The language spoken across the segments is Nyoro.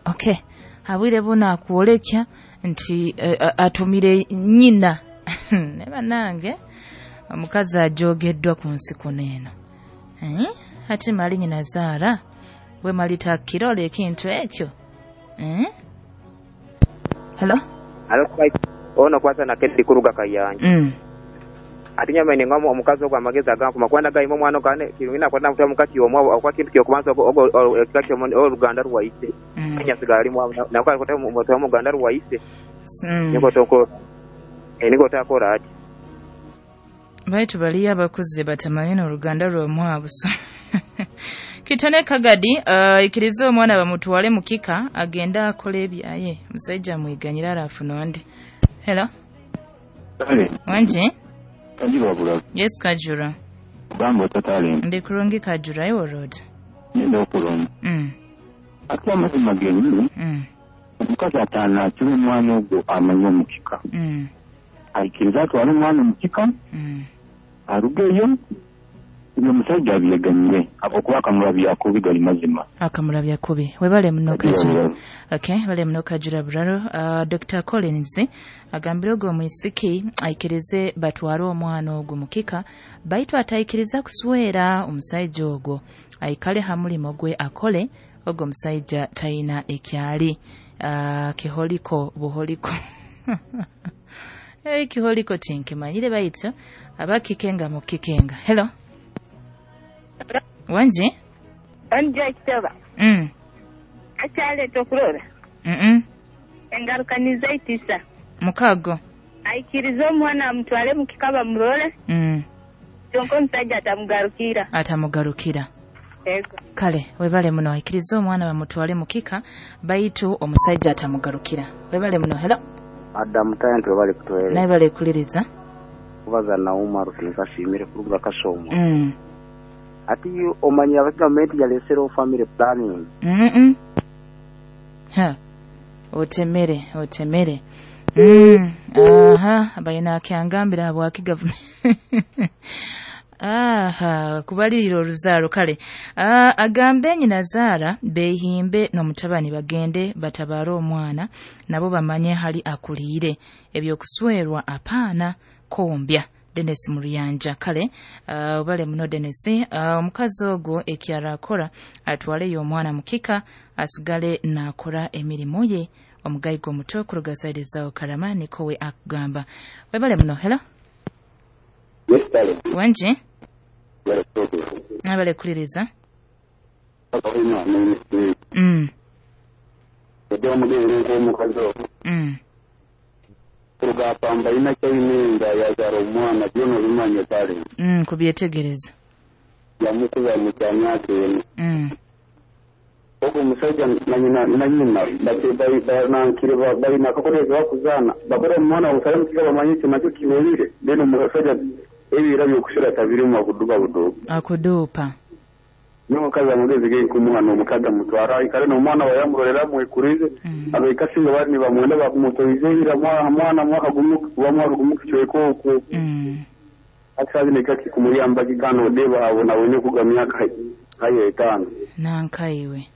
Okay, habwire buno akwolekya nti atumire nyina. Ne bannange, omukazi ajogeddwa ku nsi kuno eno. Ati mali nyina zaara we mali takirola ekintu ekyo. Hello. Alo, ono kwasa na Kennedy kuruga Kayanja. Ati nyama ni ngomo omukazi ogwo amagezi agankuma kwenda gayima omwana ogane kirungi nakwenda mutwe mukati omwo okwa kintu kyokubanza ogwo ekika oluganda rwaise. Nyasigala ali nakwenda kutema mutwe muganda rwaise. Niko toko niko takora ati. Baitu baliyo abakuze batamanyi n'oluganda lw'omwabuso. Kitone Kagadi, ikiriza omwana bamutwale mukika agenda akole ebyaye, omusajja amwiganyira arafuna ondi. Hello. Wanje? Kajura bula. Yes, Kajura. Gambo tatale. Ndi kurungi Kajura, iwo road. Nenda okulonda. Ate amazima gennyini. Omukazi ataana akira omwana ogwo amanyi omukika. Aikiriza atwale omwana omukika. Arugeyo. Uyo omusajja abyeganyire akokuba akamulabya kubi gali mazima. Akamulabya kubi. Webale muno Kajura. Okay, webale muno Kajura Bularo. Dr. Collins agambire ogwo omwisiki aikirize batware omwana ogwo mukika, baitu ataikiriza kuswera omusajja ogwo. Aikale ha mulimo gwe akole, ogwo omusajja tayina ekyali. Kiholiko buholiko. Kiholiko tinkimanyire baitu abakikenga mukikenga. Hello. Wanje? Anja kitaba. Akyaleeta okurora. Engaruka nizaitisa. Mukago. Aikiriza omwana amutwale mukika bamurole. Kyonka omusajja atamugarukira. Atamugarukira. Ego. Kale, webale muno aikiriza omwana bamutwale mukika baitu omusajja atamugarukira. Webale muno. Hello. Adam Talent webale kutuweereza. Naye bale kuliriza. Kubaza na Umar tinkasiimire kuruga Kasoomo. Ati omanyi aba gavumenti yaleeserewo family planning. Ha. Otemere. Aha, bayina akyangambira habwaki gavumenti. Aha, kubalirira oruzaaro kale. Agambe nyina zaara behimbe n'omutabani bagende batabaare omwana nabo bamanye hali akuliire ebyokuswerwa apaana kombya. Dennis Muriyanja kale, obale muno Dennis. Omukazi ogwo ekyara akora atwaleyo omwana mukika asigale nakora emirimu ye. Omugayigo omuto kuruga saidi zao Karama niko we akugamba. Webale muno. Hello. Yes, darling. Wanje? Nabale kuliriza. Kurugapamba ina kyainenga yazara omwana byona obimanye kale. Kubyetegereza. Yamukuba mu kyamyaka eno. Ogwo omusajja na nyina banankire balina akakolezo bakuzaana bakora omwana obusale mukika bamanye ekyo nakyo kinobire then omusajja ebira byokushira tabirimu akuduba buduupa. Akuduupa. N'omukazi amagezi genkumuha n'omukazi amutwara aikare n'omwana wayamurorera amwekurize. Abaikasinga bari nibamwenda bakumutoize ira mwana mwaka gumu wa gumu kichweko okwo. Akazi nekaki kumuyamba kikano deba abona wenye kuga myaka haye 5. Nankaiwe.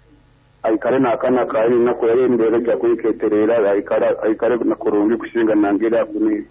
Aikare nakana kali nako yarendera kya kwiketerera aikare nakurungi kushinga nangira kuni.